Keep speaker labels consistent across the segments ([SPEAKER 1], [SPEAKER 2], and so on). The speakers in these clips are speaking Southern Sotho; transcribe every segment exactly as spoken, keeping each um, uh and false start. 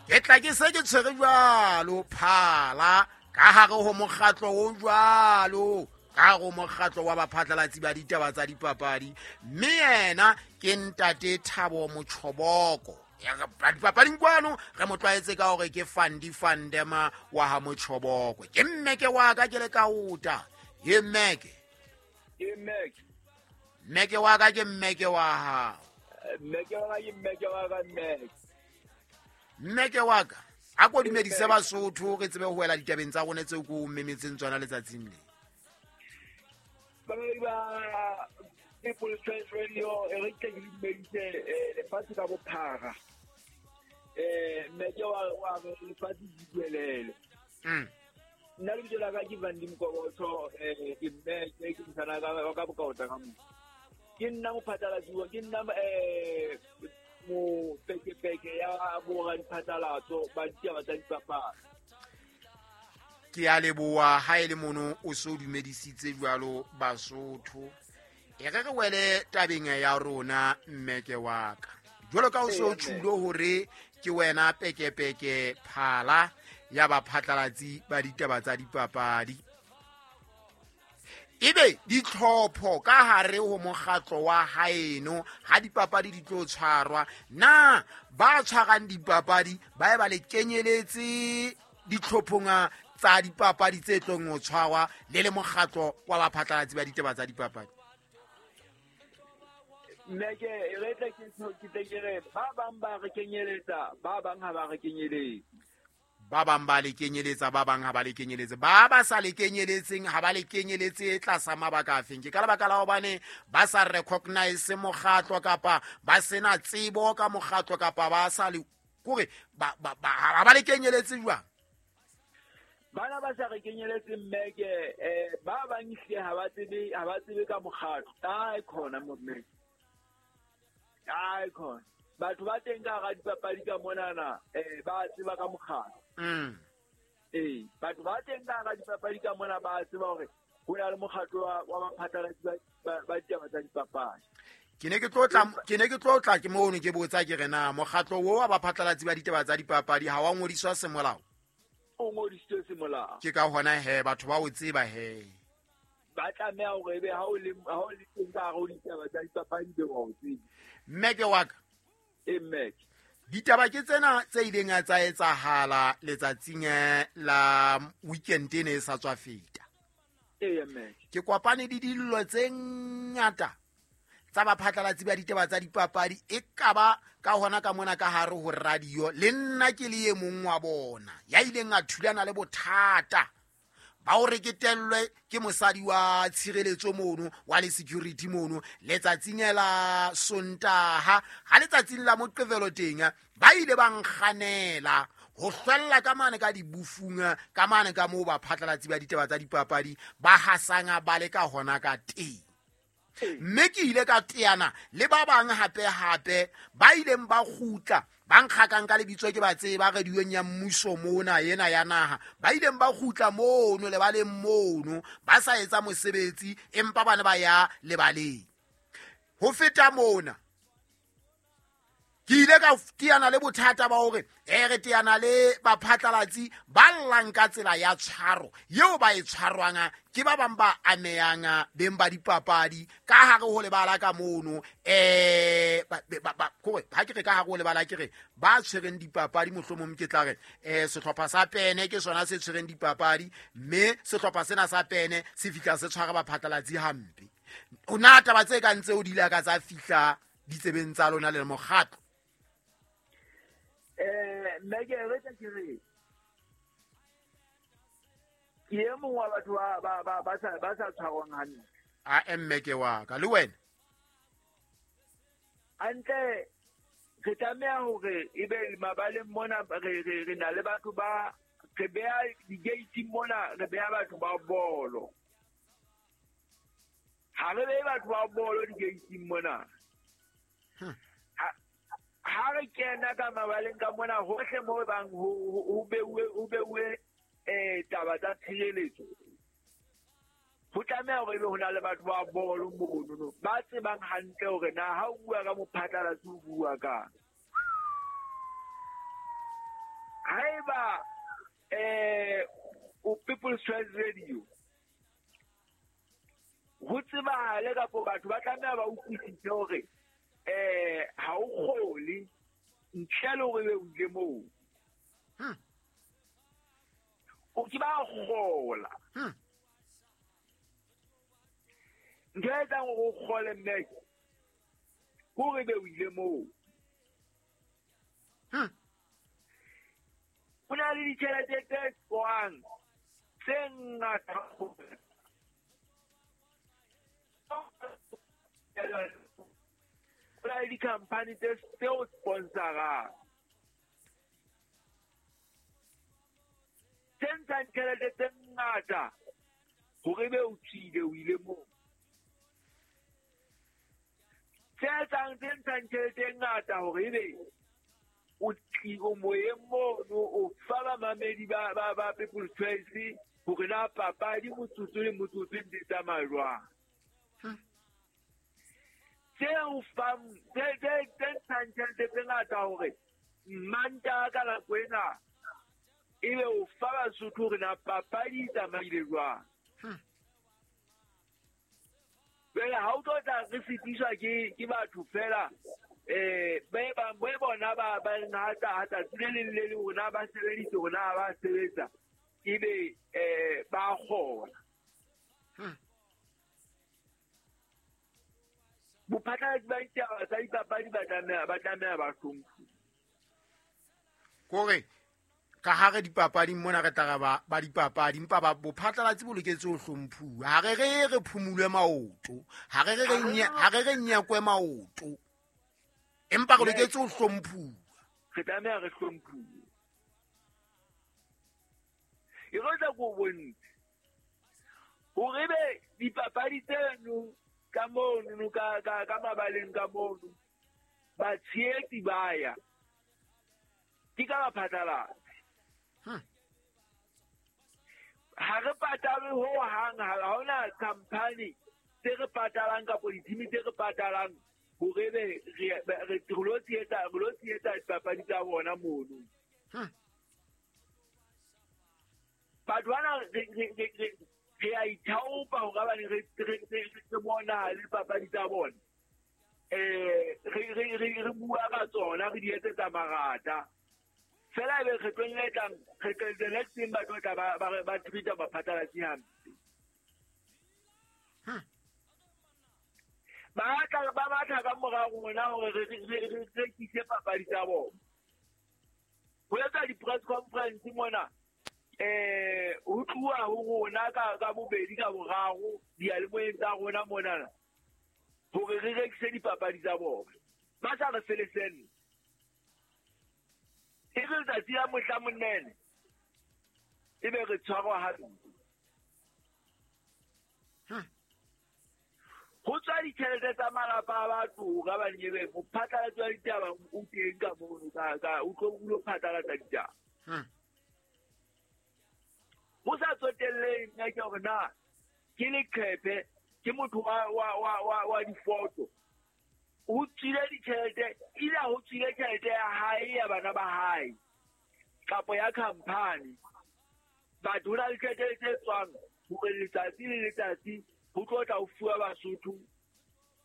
[SPEAKER 1] Ke tla ke se ke tshwere jwalo phala ka hare ho mokgatlo o jwalo, ka hare ho mokgatlo wa baphatlalatsi ba ditaba tsa dipapadi. Mme yena ke ntate Thabo Motjhoboko. Dipapading kwano re mo tlwaetse ka hore ke Fandi Fandema wa ha Motjhoboko. Ke mmeke wa ka ke le kaota. Ye mmeke.
[SPEAKER 2] Ke mmeke.
[SPEAKER 1] Mmeke wa ka ke mmeke wa hao.
[SPEAKER 2] Mmeke wa ka ke mmeke wa ka mmeke.
[SPEAKER 1] Mmeke wa ka a ko dumedise Basotho re tsebe ho wela ditabeng tsa rona tseo ko memetseng tsona letsatsing le.
[SPEAKER 2] Ba People's Choice Radio e re tle ke dumedise lefatshe ka bophara. Eh mmeke wa wa lefatshe di duelele.
[SPEAKER 1] Mm.
[SPEAKER 2] Nna lebitso la ka ke Vandi Mokobotho, eh ke mmeke ke mosana ka ka bokaota ka mo. Ke nna mophatlalatsi, ke nna eh mo pekepeke ya bora diphatlalatso ba ditaba tsa dipapadi.
[SPEAKER 1] Ke a leboha ha e le mono o so dumedisitse jwalo Basotho. E re re wele tabeng ya rona mmeke wa ka. Jwalo ka o so tjhulo hore ke wena pekepeke phala ya baphatlalatsi ba ditaba tsa dipapadi. Ebe ditlhopho ka hare ho mokgatlo wa haeno ha dipapadi di tlo tshwarwa, na ba tshwarang dipapadi ba e ba le kenyeletse ditlhophong tsa dipapadi tse tlong ho tshwarwa le le mokgatlo wa baphatlalatsi ba ditaba tsa dipapadi?
[SPEAKER 2] Mmeke re tle ke ke tle ke re ba bang ba re kenyeletsa, ba bang ha ba re kenyeletse.
[SPEAKER 1] Ba bang ba le kenyeletsa, ba bang ha ba le kenyeletse. Ba ba sa le kenyeletseng ha ba le kenyeletse tlasa mabaka afeng? Ke ka lebaka la hobane ba sa recognize mokgatlo kapa ba sena tsebo ka mokgatlo kapa ba sa le kore ba ba ha ba le kenyeletse jwang?
[SPEAKER 2] Bana ba sa re kenyeletse mmeke, eh ba bang ehlile ha ba tsebe, ha ba tsebe ka mokgatlo. Kae khona mo mmeke? Kae khona? Batho ba teng ka hara dipapadi ka monana, eh ba tseba ka mokgatlo.
[SPEAKER 1] Mm.
[SPEAKER 2] Eh, batho ba teng ka hara dipapadi ka mona ba tseba hore ho na le mokgatlo wa, wa baphatlalatsi ba, ba ditaba tsa dipapadi.
[SPEAKER 1] Ke ne ke tlo tla, ke ne ke tlo tla ke mono ke botsa ke re na mokgatlo wo wa baphatlalatsi ba ditaba tsa dipapadi ha wa ngodiswa semolao?
[SPEAKER 2] O ngodisitswe semolao.
[SPEAKER 1] Ke ka hona he batho ba o tseba he.
[SPEAKER 2] Ba tlameha hore ebe ha o le, ha o le teng ka hare ho ditaba tsa dipapadi be wa o tseba.
[SPEAKER 1] Mmeke wa ka.
[SPEAKER 2] E mmeke.
[SPEAKER 1] Ditaba ke tsena tse ileng tsa etsahala letsatsing la weekend ene e sa tswa feta.
[SPEAKER 2] Ee, mmeke.
[SPEAKER 1] Ke kopane le dillo tse ngata tsa baphatlalatsi ba ditaba tsa dipapadi e kaba ka hona ka mona ka hare ho radio le nna ke le e mong wa bona ya ileng a thulana le bothata ba o reketellwe ke mosadi wa tshireletso mono wa le security mono letsatsing la Sontaha. Ha letsatsing la Moqebelo teng ba ile ba nkganela ho hlwella ka mane ka dibufung ka mane ka moo baphatlalatsi ba ditaba tsa dipapadi ba hasanga ba le ka hona ka teng. Mme ke ile ka teana le ba bang hape hape ba ileng ba kgutla ba nkgakang ka lebitso ke ba tseba radiong ya mmuso mona ena ya naha, ba ileng ba kgutla mono lebaleng mono ba sa etsa mosebetsi empa bana ba ya lebaleng. Ho feta mona ke ile ka teana le bothata ba hore e re teana le baphatlalatsi ba llang ka tsela ya tshwaro eo ba e tshwarwang ke ba bang ba amehang beng ba dipapadi ka hare ho lebala ka mono. Eh ba kore ha ke re ka hare ho lebala ke re ba tshwereng dipapadi mohlomong ke tla re eh sehlopha sa Pene ke sona se tshwereng dipapadi mme sehlopha sena sa Pene se fihla se tshwara baphatlalatsi hampe. O na taba tse kang tseo di ile ka tsa fihla ditsebeng tsa lona le mokgatlo?
[SPEAKER 2] Eh mmeke re tla ke re ke e mong wa batho ba ba ba ba sa ba sa tshwarwang hantle.
[SPEAKER 1] A mmeke wa ka le wena
[SPEAKER 2] hantle re tlameha hore ebe mabaleng mona re re re na le batho ba re beha di-gate mona, re beha batho ba bolo. Ha re behe batho ba bolo di-gate mona. Ha re kena ka mabaleng ka mona hohle mo bang ho beuwe ho beuwe eh taba tsa tshireletso. Ho tlameha hore ebe ho na le batho ba bolo mono ba tsebang hantle hore na ha o bua ka mophatlalatsi o bua ka. Haeba eh o People's Choice Radio ho tsebahale kapo batho ba tlameha ba utlwisise hore eh ha o kgole ntle le hore o ile moo.
[SPEAKER 1] Hmm.
[SPEAKER 2] O ke ba kgola.
[SPEAKER 1] Hmm.
[SPEAKER 2] Ntho e etsang hore o kgole mme hore be o ile moo.
[SPEAKER 1] Hmm.
[SPEAKER 2] Ho na le ditjhelete tse tswang tse ngata. Ho na le di-company tse o sponsorang tse ntshang tjhelete tse ngata hore be o tswile o ile moo. Tse etsang tse ntshang tjhelete e ngata hore ebe o o moyeng mono o fa bamamedi ba ba ba People's Choice hore na papadi motsotso le motsotso di tsamaya jwang. Tse o fang tse tse tse ntshang tjhelete tse ngata hore Mantaha ka nako ena ebe o fa Basotho hore na papadi e tsamaile jwang. Jwale ha o tlo tla re fetiswa ke ke batho fela eh ba ba ba bona ba ba ngata hata le leng le leng rona ba sebeditse rona ba sebetsa ebe eh ba kgona. Bophatlalatsi ba ditaba tsa dipapadi ba tlameha ba tlameha ba hlomphuwe.
[SPEAKER 1] Kore ka hare dipapading mona re tla ba ba dipapadi empa ba bophatlalatsi bo loketse ho hlomphuwa. Ha re re re phumulwe maoto, ha re re re ha re re nyekwe maoto. Empa re loketse ho hlomphuwa.
[SPEAKER 2] Re tlameha re hlomphuwe. E re tla go bontsha hore be dipapadi tseno ka mono ka ka ka mabaleng ka mono batshehetsi ba ya ke ka baphatlalatsi. Ha re patalwe ho hang, ha hona company tse re patalang kapa di-team tse re patalang hore be re re lo tshehetsa re lo tshehetsa dipapadi tsa bona mono. Batho bana re re re re a ithaopa hore hobane re re re bona le papadi tsa bona. Eh re re re re bua ka tsona re di etsetsa marata. Fela ebe kgetlong le tlang kgetlong the next thing ba tlo tla ba ba ba treat-a baphatlalatsi hampe. Ba tla ba batla ka mora rona hore re re re rekise papadi tsa bona. Ho etsa di-press conference mona eh ho tluwa ho rona ka ka bobedi ka boraro diyalemoyeng tsa rona mona hore re rekise dipapadi tsa bona. Ba sa re felesene. E re letsatsi la mohla monene ebe re tshwarwa hampe. Ho tswa ditjhelete tsa malapa a batho ka bane ebe mophatlalatsi wa ditaba o teng ka mono ka ka o tlo o lo phatlalatsa ditaba. Ho sa tsotellehe nna ke hore na ke leqephe ke motho wa wa wa wa wa difoto. Ho tswile ditjhelete ile ho tswile tjhelete ya hae ya bana ba hae kapo ya company. Batho ho na le tjhelete tse tswang hore letsatsi le letsatsi ho tlo tla ho fuwa Basotho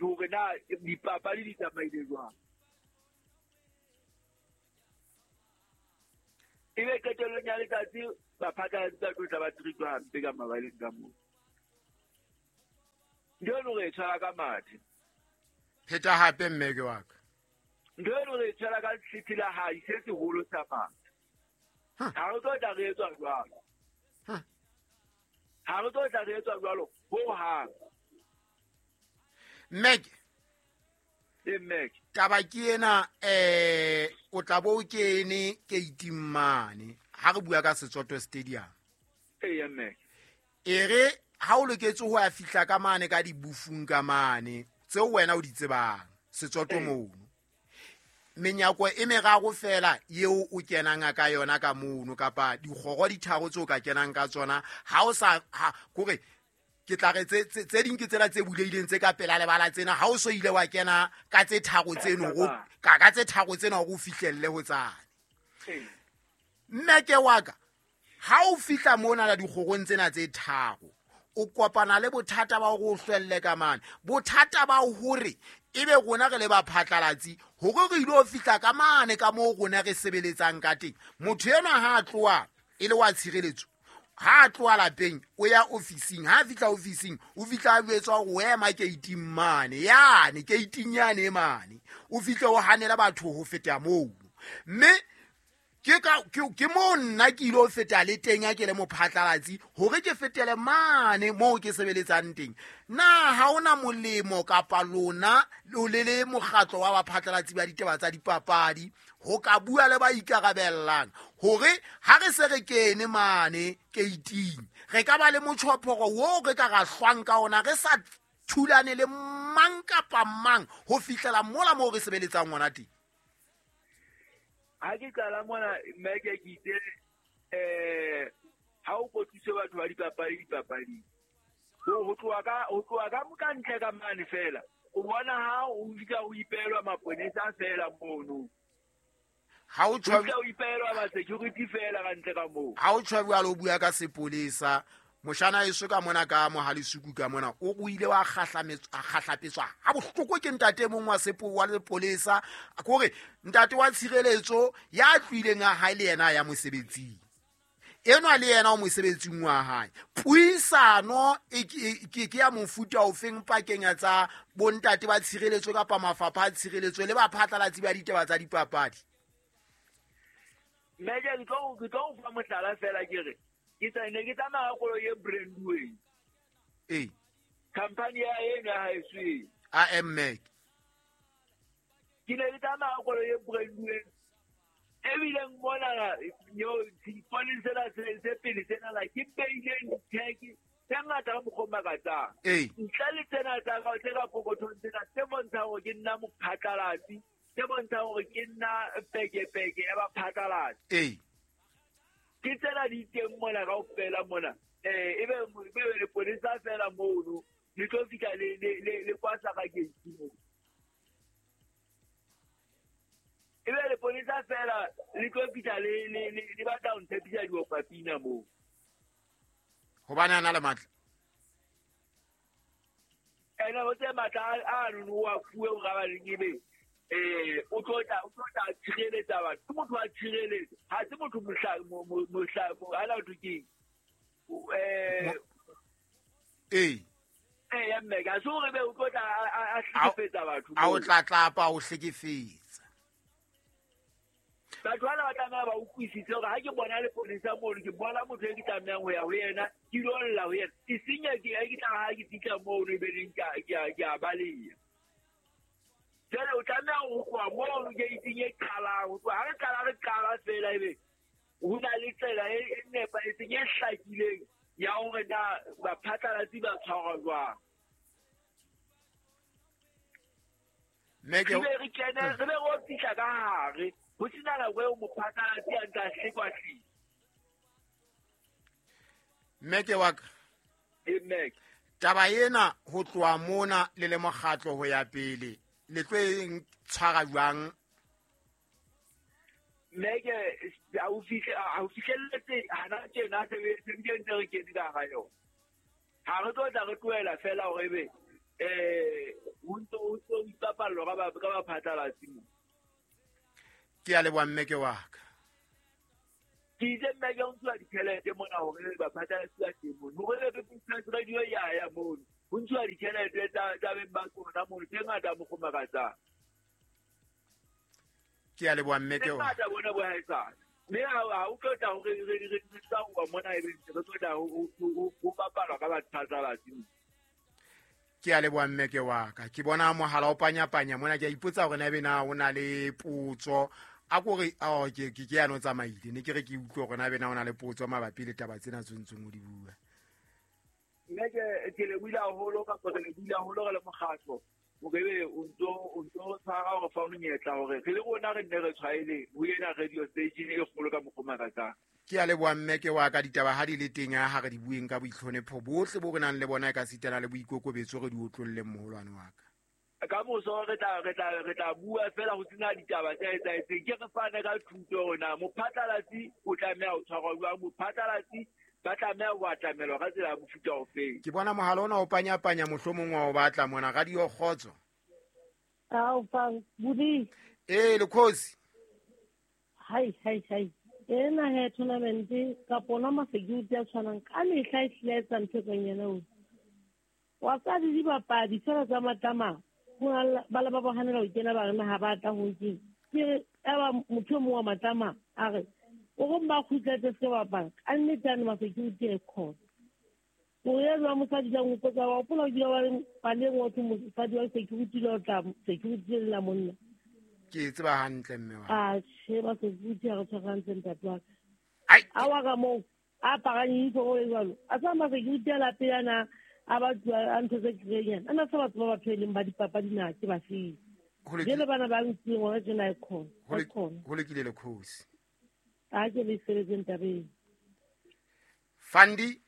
[SPEAKER 2] hore na dipapadi di tsamaile jwang. Ebe qetellong ya letsatsi baphatlalatsi ba tlo tla ba treat-wa hampe ka mabaleng ka moo. Ntho eno re e tshwara ka mathe.
[SPEAKER 1] Pheta hape mme ke wa ka.
[SPEAKER 2] Ntho eno re e tshwara ka setsi la hae se seholo sa mathe. Ha re tlo tla re etswa jwalo. Ha re tlo tla re etswa jwalo ho hang.
[SPEAKER 1] Mme
[SPEAKER 2] e mme
[SPEAKER 1] taba ke ena eh o tla bo o kene keiting mane ha re bua ka Setsoto Stadium.
[SPEAKER 2] Eya mme.
[SPEAKER 1] E re ha o loketse ho ya fihla ka mane ka dibufung ka mane tseo wena o di tsebang Setsoto mono. Menyako e meraro fela eo o kenang ka yona ka mono kapa dikgoro di tharo tseo ka kenang ka tsona ha o sa ha kore ke tla re tse tse ding ke tsela tse bulehileng tse ka pela lebala tsena ha o so ile wa kena ka tse tharo tseno go ka ka tse tharo tsena hore o fihlelle ho tsane. Mmeke wa ka, ha o fihla mona la dikgorong tsena tse tharo, o kopana le bothata ba hore o hlwelle ka mane. Bothata ba hore ebe rona re le baphatlalatsi hore re ilo fihla ka mane ka moo rona re sebeletsang ka teng. Motho enwa ha a tloha e le wa tshireletso, ha a tloha lapeng o ya ofising, ha a fihla ofising o fihla a jwetswa hore o ema keiting mane, yane keiting yane mane, o fihle o hanela batho ho feta moo. Mme ke ka ke mo nna ke ilo feta le teng ha ke le mophatlalatsi hore ke fetele mane moo ke sebeletsang teng. Na ha ona molemo kapa lona lo le le mokgatlo wa baphatlalatsi ba ditaba tsa dipapadi ho ka bua le ba ikarabellang hore ha re se re kene mane keiting re ka ba le motjhophoro wo re ka ra hlwang ka ona, re sa thulane le mang kapa mang ho fihlela mola moo re sebeletsang hona teng?
[SPEAKER 2] Ha ke qala mona mmeke ke itse eh ha o kotlise batho ba dipapadi dipapading, ho tloha ka ho tloha ka ka ntle ka mane fela o bona ha o fihla o ipelwa maponesa fela mono,
[SPEAKER 1] ha o
[SPEAKER 2] tshwa o ipelwa ba security fela ka ntle ka moo.
[SPEAKER 1] Ha o tshwa jwalo o bua ka sepolesa, moshana eso ka mona ka Mohalisuku ka mona o o ile wa kgahlametswa a kgahlapetswa ha bohloko ke ntate mong wa sepo wa lepolesa, kore ntate wa tshireletso ya tloileng a hae le yena ya mosebetsing enwa le yena o mosebetsing wa hae. Puisano e ke ke ya mofuta ofeng pakeng tsa bontate ba tshireletso kapa mafapha a tshireletso le baphatlalatsi ba ditaba tsa dipapadi?
[SPEAKER 2] Mme ke tlo ke tlo fa mohlala fela ke re ke tsene ke tsamaya koloi e branduweng.
[SPEAKER 1] Ee.
[SPEAKER 2] Company ya eno ya haeso.
[SPEAKER 1] A M Mac.
[SPEAKER 2] Ke ne ke tsamaya koloi e branduweng. Ebile mona yo dipolisi tsena se pele tsena la ke beileng di-tag tse ngata ka mokgwa o makatsang.
[SPEAKER 1] Ee.
[SPEAKER 2] Ntle le tsena tsa ka tse ka pokothong tsena tse bontshang hore ke nna mophatlalatsi, tse bontshang hore ke nna pekepeke ya baphatlalatsi.
[SPEAKER 1] Ee.
[SPEAKER 2] Ke tsena di teng mona kaofela mona. Eh ebe ebe leponesa fela mono le tlo fihla le le le kwasa ka gate moo. Ebe leponesa fela le tlo fihla le le le batla ho ntshepisa diopapina moo.
[SPEAKER 1] Hobane a na le matla.
[SPEAKER 2] Ena o tse matla a no wa fuwe o ga ba leng ebe eh o tlo tla o tlo tla tshireletsa batho. Ke motho wa tshireletsa, ha se motho mohla mohla ala o ke eh
[SPEAKER 1] eh
[SPEAKER 2] eh ya mme ka so re be o tlo tla a hlekefetsa batho.
[SPEAKER 1] A o tlatlapa o hlekefetsa.
[SPEAKER 2] Batho bana ba tlameha ba utlwisise hore ha ke bona leponesa mono ke bona motho e ke tlamehang ho ya ho yena, ke ilo lla ho yena. E senya ke ke tla ha ke fihla mono ebe neng ke ke ke a baleha. Jwale o tlameha ho tloha mono gate-ing e qalang, ho tloha ha re qala re qala fela ebe ho na le tsela e nepahetseng e hlakileng ya hore na baphatlalatsi ba tshwarwa jwang.
[SPEAKER 1] Mme ke
[SPEAKER 2] re be re kene re be re fihla ka hare ho sena nako eo mophatlalatsi a ntsa hlekwa-hlekwa.
[SPEAKER 1] Mme ke wa ka.
[SPEAKER 2] E mme.
[SPEAKER 1] Taba ena ho tloha mona le le mokgatlo ho ya pele le tlo e tshwara jwang?
[SPEAKER 2] Mme ke ha o fihle ha o fihlelletse hana tjena se se ntse re kene ka hara yona. Ha re tlo tla re tlohela fela hore ebe eh ho ntso ho ntso ipapallwa ka ba ka baphatlalatsi mo.
[SPEAKER 1] Ke a leboha mme ke wa ka.
[SPEAKER 2] Ke itse mme ke ho ntshuwa ditjhelete mona hore baphatlalatsi ba teng mono. Hore re be radio ya ya mono. Ho ntshuwa ditjhelete tsa tsa beng ba tsona mono tse ngata mokgwa makatsang.
[SPEAKER 1] Ke a leboha mme ke wa.
[SPEAKER 2] Tse ngata bona bo haesale. Mme ha o tlo tla hore re re re tsa ho mona ebe re tlo tla ho ho bapalwa ka baphatlalatsi.
[SPEAKER 1] Ke a leboha mme ke wa ka. Ke bona mohala o panyapanya mona, ke a ipotsa hore na ebe na o na le potso. A kore oh ke ke ke ya no tsamaile ne ke re ke utlwe hore na ebe na o na le potso mabapi le taba tsena tse ntseng o di bua.
[SPEAKER 2] Mme ke ke le buile haholo kapa re le buile haholo re le mokgatlo hore ebe o ntso o ntso tshwara hore fa o monyetla hore re le rona re nne re tshwaele ho ena radio station e kgolo ka mokgwa makatsang.
[SPEAKER 1] Ke a leboha mme ke wa ka. Ditaba ha di le teng ha re di bueng ka boitlhonepho bohle bo re nang le bona e ka sitana le boikokobetso re di otlolleng moholwane wa ka.
[SPEAKER 2] Ka moso re tla re tla re tla bua fela ho tsena ditaba tse etsahetseng. Ke re fane ka thuto hore na mophatlalatsi o tlameha ho tshwarwa jwang, mophatlalatsi ba tlameha ho atamelwa ka tsela ya mofuta ofeng.
[SPEAKER 1] Ke bona mohala ona o panyapanya, mohlomong wa o batla mona. Radio Kgotso.
[SPEAKER 3] Ao fa budi.
[SPEAKER 1] Eh lekhosi.
[SPEAKER 3] Hai hai hai. Ena he tournament ka pona ma security a tshwanang ka mehla e hlile etsa ntho e yena o. Wa tsa di dibapadi fela tsa matama. Ba le ba ba hanela ho kena ba re ha ba tla ho ke. Ke eba motho mo wa matama a re o go mba khutletse se bapala. Ka nnete a ma security e khona. O ya jwa mosadi jang o kotsa wa hopola o dula wa reng paleng wa thwe mosadi wa security le o tla security le la monna.
[SPEAKER 1] Ke tseba hantle mme wa.
[SPEAKER 3] A che ba security a re tshwarantse ntate wa ka.
[SPEAKER 1] Ai.
[SPEAKER 3] A wa ka moo a aparang uniform e jwalo. A sa ma security a la pele a ba a ntho tse kry-eng. A na sa batho ba batho e leng ba dipapadi na ke ba feng. Jele bana ba ntseng hona tjena e khona. E khona.
[SPEAKER 1] Ho lokile lekhosi.
[SPEAKER 3] A ke le sebetseng tabeng.
[SPEAKER 1] Fandi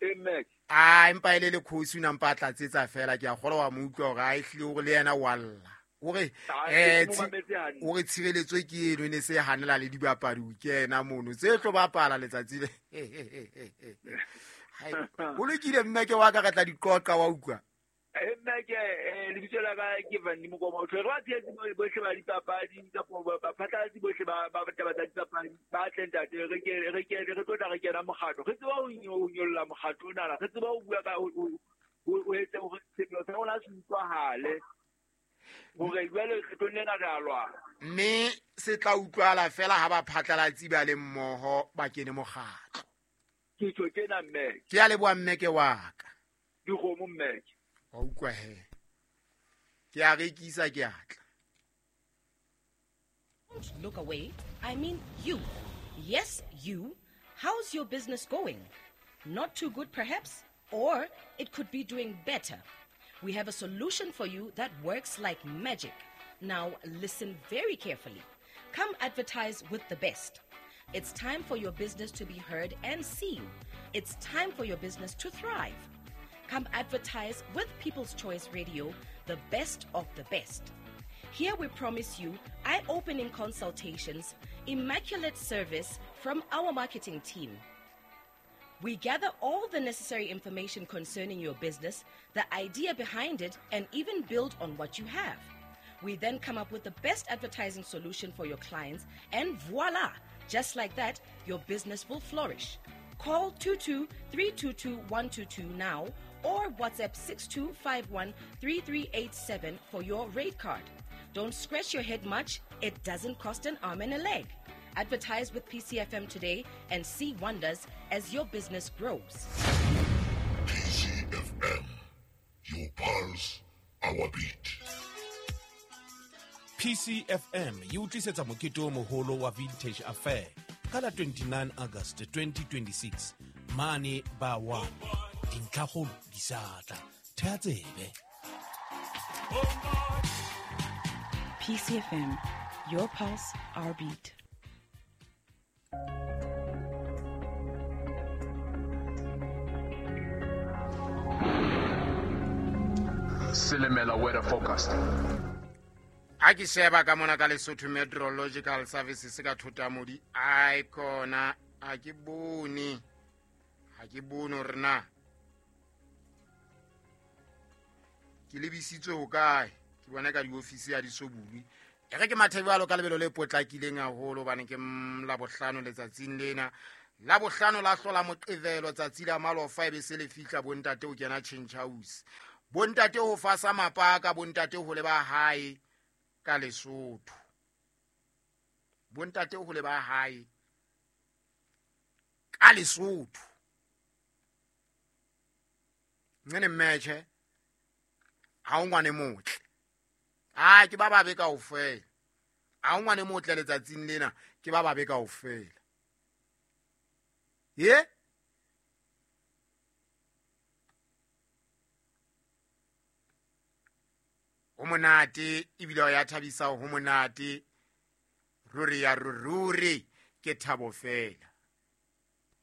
[SPEAKER 2] Emek.
[SPEAKER 1] A empa ile le khosi o nampa tlatsetsa fela ke a kgolwa wa mo utlwa hore a ehlile hore le yena wa lla. Hore eh o re tshireletso ke eno ne se hanela le dibapadi o kena mono tse tlo bapala letsatsi le. Hai o lokile mme ke wa ka re tla di qoqa wa utlwa.
[SPEAKER 2] Nna ke lebitso la ka ke Van Mokoma. Re ba tshehetsi bohle ba dipapadi kapa baphatlalatsi bohle ba ba taba tsa dipapadi ba tle ntate re ke re ke re tlo tla re kena mokgatlo. Re tseba ho nyolla mokgatlo ona, re tseba ho bua ka o etse hore sepheo sa rona se utlwahale hore jwale re tlo nna re a lwana.
[SPEAKER 1] Mme se tla utlwala fela ha baphatlalatsi ba le mmoho ba kene mokgatlo.
[SPEAKER 2] Ke tjho tjena mme.
[SPEAKER 1] Ke a leboha mme ke wa ka.
[SPEAKER 2] Dikgomo mme.
[SPEAKER 1] Wa utlwa he. Ke a rekisa ke atla.
[SPEAKER 4] Don't look away. I mean you. Yes, you. How's your business going? Not too good perhaps, or it could be doing better. We have a solution for you that works like magic. Now listen very carefully. Come advertise with the best. It's time for your business to be heard and seen. It's time for your business to thrive. Come advertise with People's Choice Radio, the best of the best. Here we promise you eye-opening consultations, immaculate service from our marketing team. We gather all the necessary information concerning your business, the idea behind it, and even build on what you have. We then come up with the best advertising solution for your clients, and voila! Just like that, your business will flourish. Call two two three two two one two two now or WhatsApp six two five one three three eight seven for your rate card. Don't scratch your head much. It doesn't cost an arm and a leg. Advertise with P C F M today and see wonders as your business grows.
[SPEAKER 5] P C F M, your pulse, our beat.
[SPEAKER 6] P C F M e utlwisetsa mokete o moholo wa Vintage Affair ka la twenty-nine August twenty twenty-six mane ba wa dintlhakgolo di sa tla. Theha tsebe.
[SPEAKER 7] P C F M, your pulse, our beat.
[SPEAKER 8] Silimela weather forecast.
[SPEAKER 1] A ke sheba ka mona ka Lesotho Meteorological Services ka Thotamodi. Ai kona a ke bone. Ha ke bone hore na ke lebisitswe ho kae. Ke bona ka diofisi ya di so bulwe. E re ke mathebalo ka lebelo le potlakileng haholo hobane ke Labohlano letsatsing lena. Labohlano la hlola Moqebelo tsatsi la malofa e be se le fihla bontate o kena change house. Bontate ho fasa mapaka, bontate ho leba hae ka Lesotho. Bontate ho leba hae ka Lesotho. Ngene mmetjhe ha o ngwane motle. Ah ke ba babe kaofela. Ha o ngwane motle letsatsing lena ke ba babe kaofela. Ye? Ho monate ebile ya thabisa ho monate. Ruri ya ruri ke thabo fela.